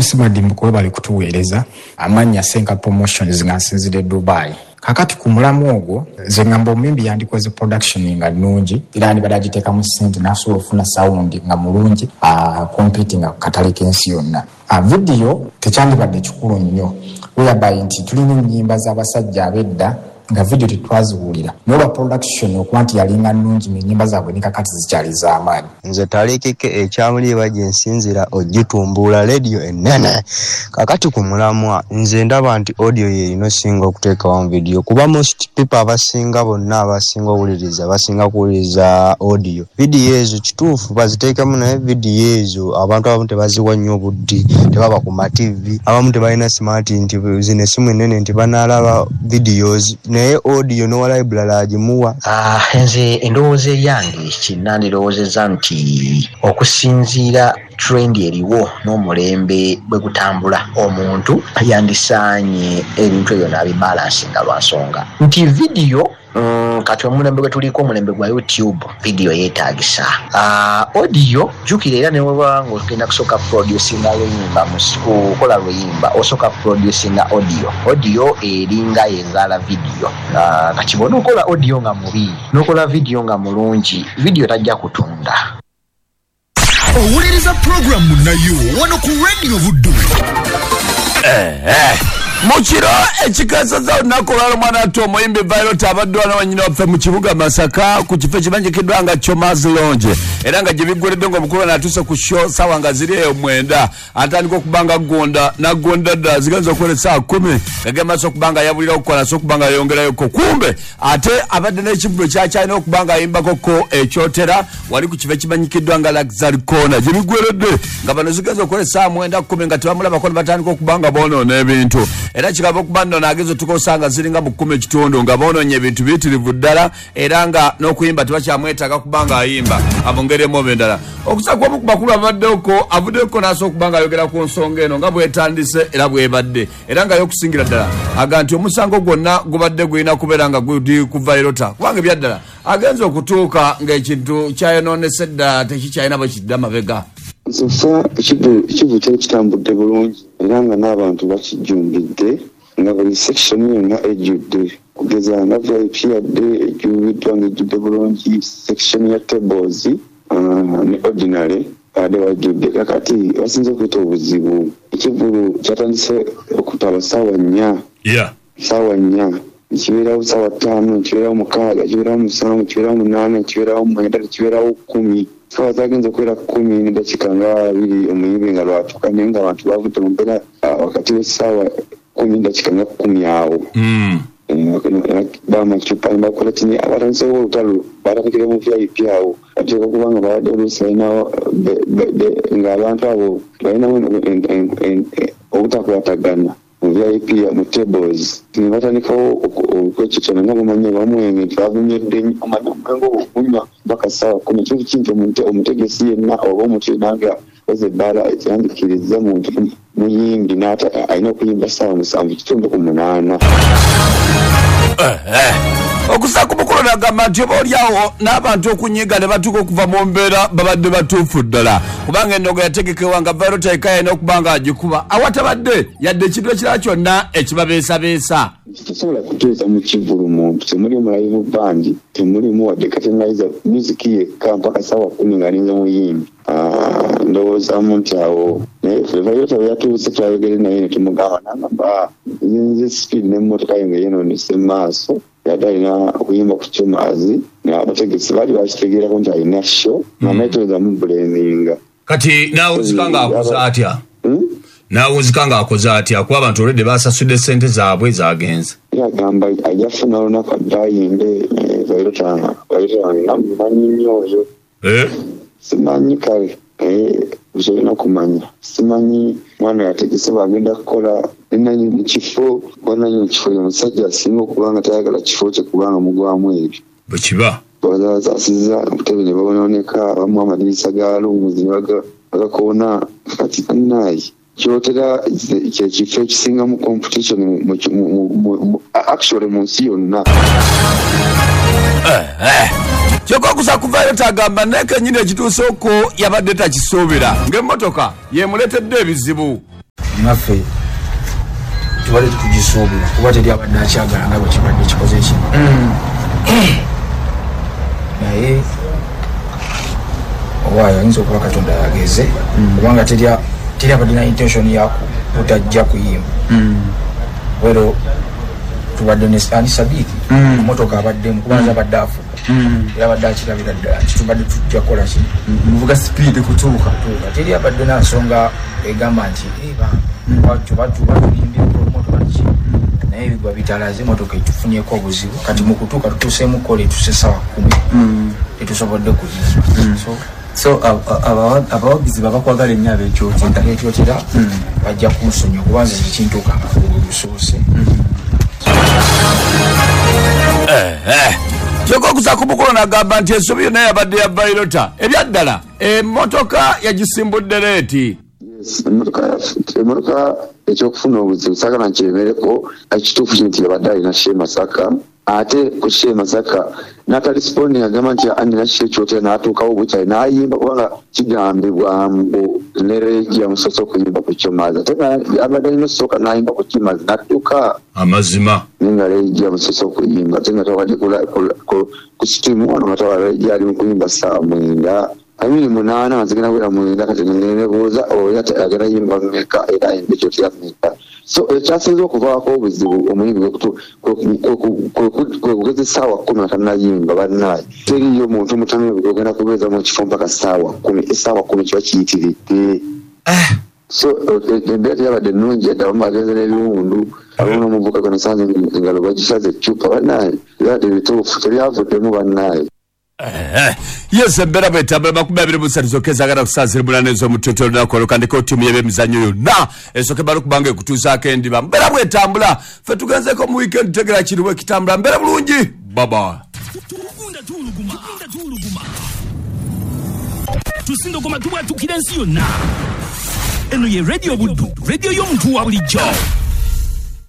MC Madimbuko, webale kutuweereza. Amannya Senka Promotions, nga nsinzidde Dubai. Kakati ku mulamu ogwo, nze ngamba omuyimbi yandikoze production nga nnungi, era yandibadde agiteekamu ssente n'asobola okufuna sound nga mulungi, competing ku katale k'ensi yonna. Video tekyandibadde kikulu nnyo, whereby nti tulina ennyimba z'abasajja ab'edda nga video tetwaziwulira, naye olwa production okuba nti yalinga nnungi, ng'ennyimba zaabwe ne kakati zikyali z'amaanyi. Nze Talikike ekyamuliiba gye nsinzira ogitumbuula rediyo ennene. Kakati ku mulamwa, nze ndaba nti audio yerina osinga okuteekawo vidiyo, kuba most people abasinga bonna abasinga owuliriza basinga kuwuliriza audio. Vidiyo ezo kituufu baziteekamu, naye vidiyo ezo abantu abamu tebaziwa nnyo obudde, tebaba ku ma TV, abamu tebalina smart nti zino essimu ennene nti banaalaba videos, naye audio n'owa library agimuwa. Nze endowooza eyange kinandirowoozezza nti okusinziira trend eriwo n'omulembe bwe gutambula, omuntu yandisaanye ebintu ebyo n'abibalansinga, lwa nsonga nti vidiyo kati omulembe gwe tuliko, omulembe gwa YouTube, vidiyo yeetagisa. Audio jjukira era neweba nga ogenda kusooka producinga luyimba, kukola luyimba osooka producinga audio. Audio eringa yezaala vidiyo. Kati bw'onookola audio nga mubi n'okola vidiyo nga mulungi, vidiyo tajja kutunda. Owuliriza puroguramu nayo wano ku Radio Buddu. Mu kiro ekikeseza olunaku olwalo, mwana ate omuyimbi Violet abadde wano wanyina waffe mu kibuga Masaka ku kifo ekimanyikiddwa nga Chomas Lounge, era nga gye biggweredde ng'omukulu atuuse ku show sawa nga ziri eyo 9, atandika okuba nga aggonda n'aggonda ddala zigenza okukola essaawa 10, gagenda maaso okuba nga yabulira okukola so okuba nga yayongerayoko. Kumbe ate abadde n'ekivvulu kyakyalina okuba nga ayimbakoko ekyotera wali ku kifo ekimanyikiddwa nga Luxury Corner. Gye biggweredde nga bano zigenza okukola essaawa 9 10 nga tebamulabako, ne batandika okuba nga boonoona ebintu, era kikaba okuba nno naageza otukosa nga ziringa mu 10 ekitundu nga boonoonye ebintu biyitirivu ddala, era nga n'okuyimba tebakyamwetaaga kuba nga ayimba mu ngeri emu oba endala. Okusa kw'omu ku bakulu abaddeko avuddeko n'asobola okuba nga ayogera ku nsonga eno nga bwetandise era bwebadde, era nga y'okusingira ddala aga nti omusango gwonna gubadde gulina kubeera nga guli ku Vyroota, kubanga ebyaddala agenza okutuuka ng'ekintu kyayonoonese dda, tekikyalina bwe kidda mabega. So far ekivu kyali kitambudde bulungi, era nga n'abantu bakijjumbidde, nga buli section yonna ejjudde, kugeza nga VIP yadde ejjumbiddwa ng'ejjudde bulungi, section ya tables ne ordinary badde wajjudde. Kakati basinze okuyita obuzibu, ekivvulu kyatandise okutaba ssaawa 4. Ssaawa 4 nekibeerawo, ssaawa 5 nekibeerawo, 6 kibeerawo, 7 kibeerawo, 8 kibeerawo, 9 kibeerawo, 10. Saawa zagenza okubeera 10:20 omuyimbi nga lwatuuka, naye nga abantu bavudde mu mbeera wakati w'essaawa 9:50 awo. Bamacupa nebakola kini, abatandisewo olutalo batandikire mu VIP awo. Bateeka okuba nga babadde oluusi balinawo ng'abantu abo balinawo obutakwatagana mu VIP mu tables, ne batandikawo okwekitona nga bumanyi bamwenge nti bavumyedde nnyo, omanyi omwenge ogwo okunywa paka ssaawa 10 kintu kinti omutegesi yenna oba omuntu yenna nga oza ebbaala ekyandikiriza muntu muyimbi n'ate alina okuyimba ssaawa 7 ku 8. Okusa ku mukulu nagamba nti oba oliawo n'abantu okunyiga ne batuuka okuva mu mbeera babadde batuufu ddala, kubanga ennogo yategekebwa nga Vyroota eka yalina okuba nga agikuba awatabadde yadde ekintu ekirala kyonna ekibabeesabeesa. Tosobola kuteesa mu kivvulu muntu temulimu live band, temulimu wadde curtain raiser, music yekka mpaka ssaawa 10 ng'alinze muyimbi. Ndowoozaamu nti awo naye Vyroota bwe yatuuse twayogere naye ne tumugamba, nagamba nze speed n'emmotoka ye nga yeenoonese mu maaso, yadde alina okuyimba ku Chomazi, abategesi baali bakitegeerako nti alina show nga naye toyinza mubulaminga. Kati naawunzika ng'akoze atya? Naawunzika ng'akoze atya, kuba abantu olwedde basasudde sente zaabwe zagenze? Yagamba ajja kufuna olunaku adde ayimbe. Vyroota wange namumanyi nnyo oyo. Simanyi kale, naye kyolina okumanya simanyi mwana yategese bwagenda kukola nenanyini kifo, kuba nanyini kifo ye musajja asinga okuba nga tayagala kifo kye kubanga mugwamu ebyo. Bwe kiba. Bazasasiza obutebe ne babononeka, abamu amadirisa ga rooms ne bagakoona. Kati bannaye, kyotera kyekifo ekisingamu competition actually mu nsi yonna. Kyokka okusa kuvaayo tagamba naye kenyini ekituuse okwo yabadde takisuubira ng'emmotoka yemuleetedde ebizibu. Naffe tubadde tukugisuubira kuba teri abadde akyagala nga bwe kibadde kikoze ki. Naye owaayo ayinza okuba Katonda yageze, kubanga teri abadde na intention ya butajja kuyimba. Wero tubadde ne ani Sadiki motoka abaddemu kubanza abadde afuga era abadde akirabira ddala nti tubadde tujja kukola ki, muvuga speed kutuuka. Teri abadde na nsonga egamba nti batuyimbye motoka ki, naye ebigwa bitalaze motoka etufunyeko obuzibu. Kati mu kutuuka tutuuseemu kola etuse 10:00 tetusobodde kuyimba. So abawagizi babakwagala ennyo ab'Ekyotera bajja kunsonyiwa kuba nze tekintuuka nga lusoose. Kyokka okusa ku mukolo n'agamba nti ensobi yonna yabadde ya Vyroota. Ebyaddala emmotoka yagisimbudde leeti. Emmotoka ekyokufuna obuzibu saagala nkyemereko. Ekituufu kiri nti yabadde alina show e Masaka, ate ku show e Masaka n'ataresponding agamba nti anina show Ekyotera n'atuukawo bukyali n'ayimba, kubanga kigambibwa mbu ne Regi yamusoose okuyimba ku Kyomazi, ate abadde alina osooka n'ayimba ku Kimazi n'atuuka amazima naye nga Regi yamusoose okuyimba, ate nga twabadde ku stream wano nga twaba Regi ali mu kuyimba 9:00 amini 8 nga zigenda kubeera 9. Kati nenebuuza oyo agenda yimba mmeka era ayimba Ekyotera mmeka. So ekyasinze okuvaako obuzibu omuyimbi kwe kugeza 10:00 nga tannayimba. Bannaaye teriyo muntu mutamiivu ogenda kubeeza mu kifo mpaka 10:00. 10:00 kiba kiyitiridde. So embeera teyabadde nnungi yadde, abamu bagenze n'ebiwundu, abamu n'omuvuka gwe nasanze engalo bagisaze eccupa. Bannaaye byabadde bituufu, tebyavuddemu bannaaye. Yes, embeera bwetambula 23 zokka ezagala kusaasira munana ez'omutuutu olunaku olukandiko ttiimu y'ebyemizannyo yonna esooke bala okubanga ekutuusaako endiba. Mbeera bwetambula, ffe tugenzeko mu weekend tutegera kiriwo ekitambula. Mbeera bulungi, baba. Tusindogoma tubwatukira ensi yonna. Eno ye Radio Buddu, radio y'omuntu wa bulijjo.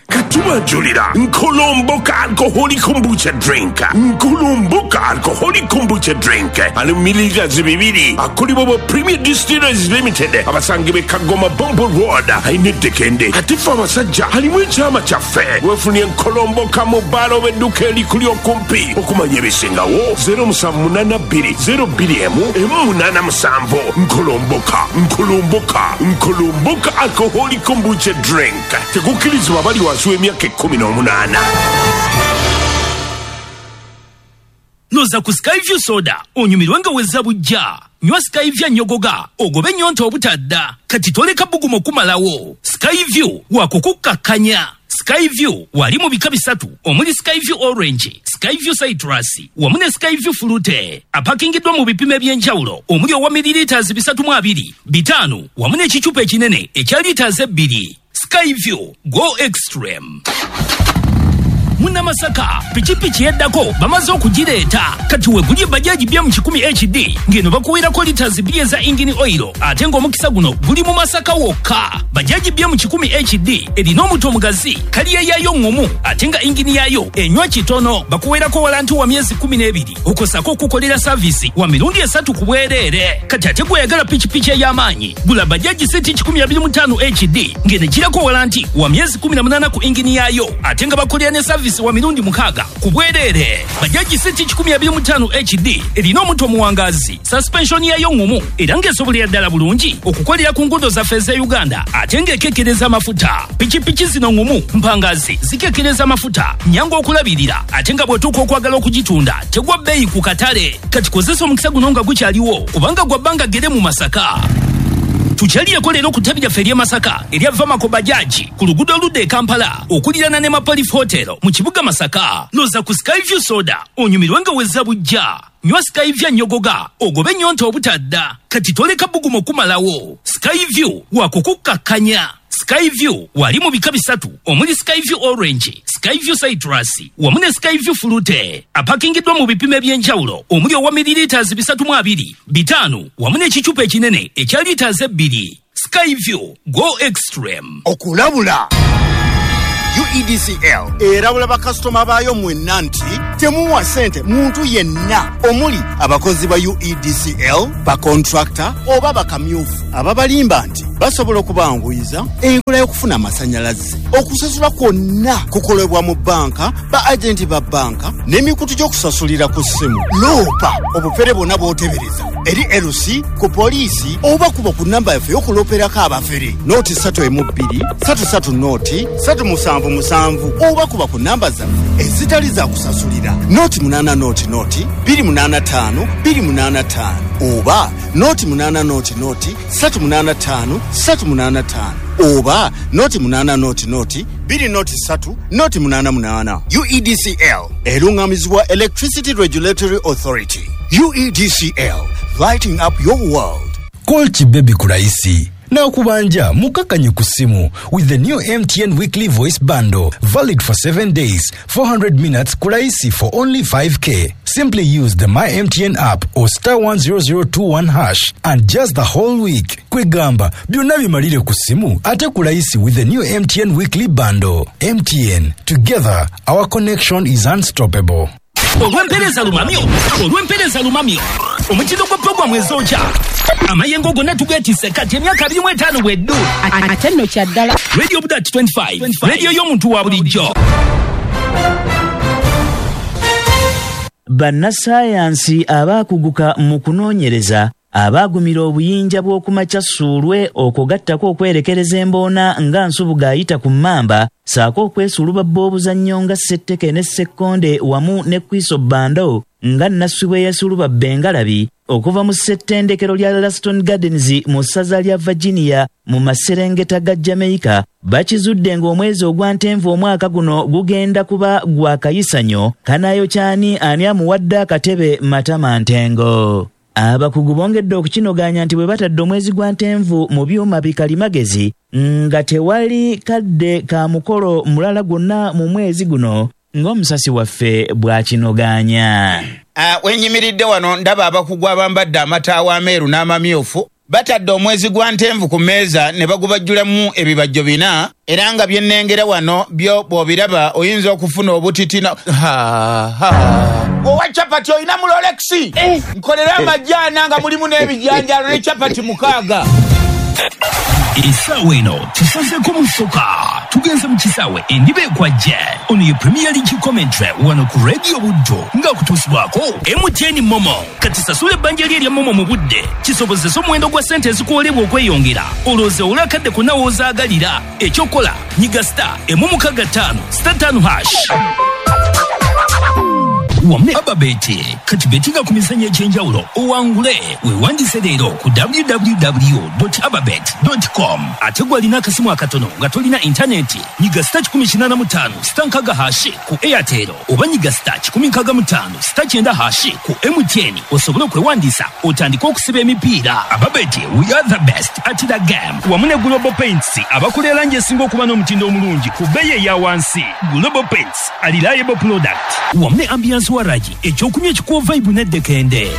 Katubajulira Nkolomboka alcoholic kombucha drink. Nkolomboka alcoholic kombucha drink ali mililita 2 akolebwa ba Premier Distillers Limited abasangibwa e Kagoma Bombo Road ayinedekende. Ate ffe abasajja alimu ekyama kyaffe. Weefunye Nkolomboka mu bbaala oba edduuka erikuli okumpi. Okumanya ebisingawo 0782 02 187. Nkolomboka, Nkolomboka, Nkolomboka alcoholic kombucha drink. Tekukkirizibwa abali wansi w'emyaka 18. Noza ku Skyview soda onyumirwe nga wezza bujja. Nywa Skyview nyogoga ogobe nnyonta obutadda. Kati toleka bugumu okumalawo. Skyview wakukukkakkanya. Skyview wali mu bika 3 omuli Skyview Orange, Skyview Citrus wamu ne Skyview Fruit. Apakingiddwa mu bipimo eby'enjawulo omuli owa mililita 302, 5 wamu n'ekicupa ekinene ekya lita 2. Skyview, go extreme. Munnamasaka pikipiki yeddako bamaze okugireeta. Kati wegulye bajaji bya mu 100 HD ng'eno bakuweerako lita 2 eza engine oil, ate ng'omukisa guno guli mu Masaka wokka. Bajaji bya mu 100 HD erina omuto omugazi, kaliya yaayo ŋŋumu ate nga engine yaayo enywa kitono. Bakuweerako walanti wa myezi 12 okosako okukolera saavisi wa mirundi 3 ku bwereere. Kati ate gweyagala pikipiki ey'amaanyi gula bajaji CT 125 HD ng'eno ekirako walanti wa myezi 18 ku engine yaayo, ate nga bakolera ne saavisi wa mirundi 6 ku bwereere. Bajaji CT 125 HD erina omuto omuwangazi, suspension yayo ŋŋumu era ng'esobolera ddala bulungi okukolera ku nguudo zaffe ez'e Uganda, ate ng'ekekkereza amafuta. Pikipiki zino ŋŋumu, mpangazi, zikekkereza amafuta, nnyangu okulabirira, ate nga bw'otuuka okwagala okugitunda tegwa bbeeyi ku katale. Kati kozesa omukisa guno nga gukyaliwo kubanga gwa bbanga ggere mu Masaka. Tukyalireko leero ku ttabi lyaffe ery'e Masaka erya Vamako Bajaji ku luguudo oludda e Kampala okuliraana ne Mapolif Hotel mu kibuga Masaka. Noza ku Skyview soda onyumirwe nga wezza bujja. Nywa Skyview nyogoga ogobe nnyonta obutadda. Kati toleka bugumu okumalawo. Skyview wakukukkakkanya. Skyview wali mu bika 3 omuli Skyview Orange, Skyview Citrus wamu ne Skyview Fruit. Apakingiddwa mu bipimo eby'enjawulo omuli owa mililita 302, 5 wamu n'ekicupa ekinene ekya lita 2. Skyview, go extreme. Okulabula UEDCL erabula bakasitoma baayo mwenna nti temuwa ssente muntu yenna omuli abakozi ba UEDCL, bakontrakta oba bakamyufu ababalimba nti Basobola okubanguyiza enkola y'okufuna amasannyalaze. Okusasula kwonna kukolebwa mu bbanka, ba agenti ba bbanka n'emikutu gy'okusasulira ku ssimu. Loopa obufere bwonna bw'otebereza eri LC, ku poliisi oba kuba ku nnamba yaffe y'okulooperako abafere 032 33 0 377 oba kuba ku nnamba zaffe ezitali za kusasulira 080 0 285 285 oba 080 0 385 385 oba 080 0 203 088. UEDCL erungamizibwa Electricity Regulatory Authority. UEDCL, lighting up your world. Call Kibebi ku rahisi na okubanja mukakanye ku simu with the new MTN weekly voice bundle, valid for 7 days, 400 minutes ku rahisi for only 5K. Simply use the My MTN app or star 10021 hash and just the whole week. Kwegamba byonna bimalire ku simu ate ku rahisi with the new MTN weekly bundle. MTN, together our connection is unstoppable. Olw'empeereza lumamyo, olw'empeereza lumamyo, omutindo gwa puroguramu ezokya amayengo gonna tugeetisse kati emyaka 25 bweddu. Ate nno kya ddala. Radio Budat 25, radio y'omuntu wa bulijjo. Bannassaayansi abaakuguka mu kunoonyereza abaagumira obuyinja bw'okumakya ssuulwe okugattako okwerekereza emboona nga Nsubuga ayita ku mmamba ssaako okwesulubabba obuzannyo nga Ssetteke ne Ssekkonde wamu ne Kwiso Bando nga Nasswi bwe yeesulubabba engalabi okuva mu ssettendekero lya Laston Gardens mu ssaza lya Virginia mu maserengeta ga Jamaica bakizudde ng'omwezi ogwa Ntenvu omwaka guno gugenda kuba gwa kayisanyo kanayokyani ani amuwadde akatebe Matama Ntengo. Abakugu bongedde okukinoganya nti bwe batadde omwezi gwa Ntenvu mu byuma bikalimagezi nga tewali kadde ka mukolo mulala gwonna mu mwezi guno ng'omusasi waffe bw'akinoganya. Wenyimiridde wano ndaba abakugu abambadde amataawa ameeru n'amamyufu batadde omwezi gwa Ntenvu ku mmeeza ne bagubajjulamu ebibajjo bina era nga bye nnengera wano byo bw'obiraba oyinza okufuna obutitina. Owa chapati olina mu Rolex, nkolera amajaana nga mulimu n'ebijanjaalo ne chapati 6. Essaawa eno tusazeeko mu ssoka, tugenze mu kisaawe endiba ekwajje. Ono ye Premier League commentary wano ku Radio Buddo ng'akutuusibwako MTN Momo. Kati sasula ebbanja lye erya Momo mu budde kisobozese omuwendo gwa ssente ezikuwolebwa okweyongera, olowooze owule akadde konna w'ozaagalira. Ekyokola nyiga star 665 star 5 hash. Wamu ne Ababeti kati betinga ku mizannyo egy'enjawulo owangule. Weewandise leero ku www.ababet.com. Ate gw'alina akasimu akatono nga tolina intaneti nyiga star 185 star 6 hashi ku Airtel oba nyiga star 165 star 9 hashi ku MTN osobole okwewandiisa otandike okusiba emipiira. Ababeti, we are the best at the game. Wamu ne Global Paints abakola erangi esinga okuba n'omutindo omulungi ku bbeeyi eya wansi. Global Paints, a reliable product. Wamu ne Ambiance Waraji ekyokunywa ekikuwa vibe n'eddekende.